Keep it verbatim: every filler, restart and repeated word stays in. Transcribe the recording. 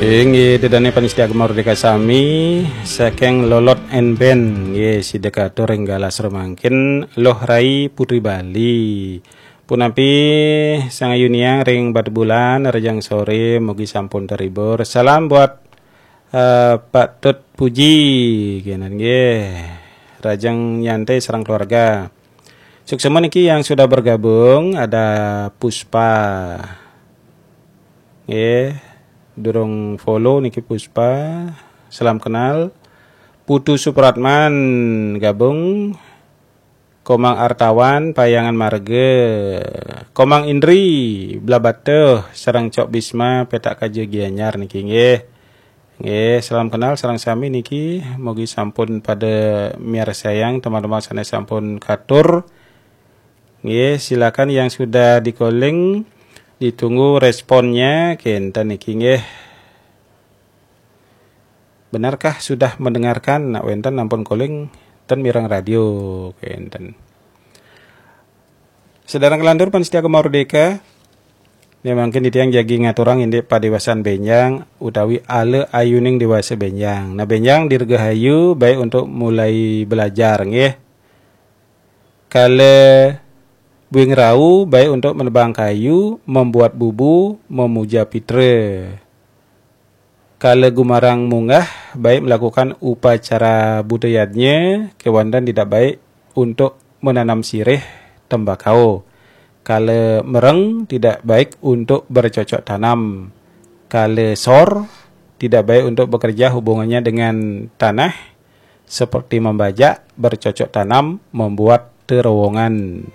Inggih, ida dané pamiarsa Gema Merdeka sami, saking Lolot and Band, nggih, sida katur ring galah mangkin, Luh Rai Putri Bali. Punapi Sang Ayu Niang ring Batubulan, rahajeng soré, mugi sampun terhibur. Salam buat, eh, Pak Tut Puji, kénten nggih. Rahajeng nyantai sareng keluarga. Suksma niki yang sudah bergabung, ada Puspa. Nggih, durung follow niki Puspa. Salam kenal. Putu Supratman gabung. Komang Artawan, Payangan Marga. Komang Indri, Blahbatuh, sareng Cok Bisma, Petak Kaja Gianyar niki nggih. Nggih, salam kenal sareng sami niki. Mugi sampun pada miarsayang teman-teman sané sampun katur. Nggih, silakan yang sudah di-calling, ditunggu responnya, kénten niki nggih. Benarkah sudah mendengarkan? Nak wénten ampun calling, ten mireng radio, kénten. Sedherek nglantur pamiarsa Gema Merdeka, ya mangkin titiang jagi ngaturang indik padéwasan bénjang utawi ala ayuning déwasa bénjang. Nah, bénjang Dirgahayu baik untuk mulai belajar, nggih. Kala Buing Rau baik untuk menebang kayu, membuat bubu, memuja pitra. Kala Gumarang Munggah baik melakukan upacara buta yadnya, kéwanten tidak baik untuk menanam sirih tembakau. Kala Mereng tidak baik untuk bercocok tanam. Kala Sor tidak baik untuk bekerja, hubungannya dengan tanah, seperti membajak, bercocok tanam, membuat terowongan.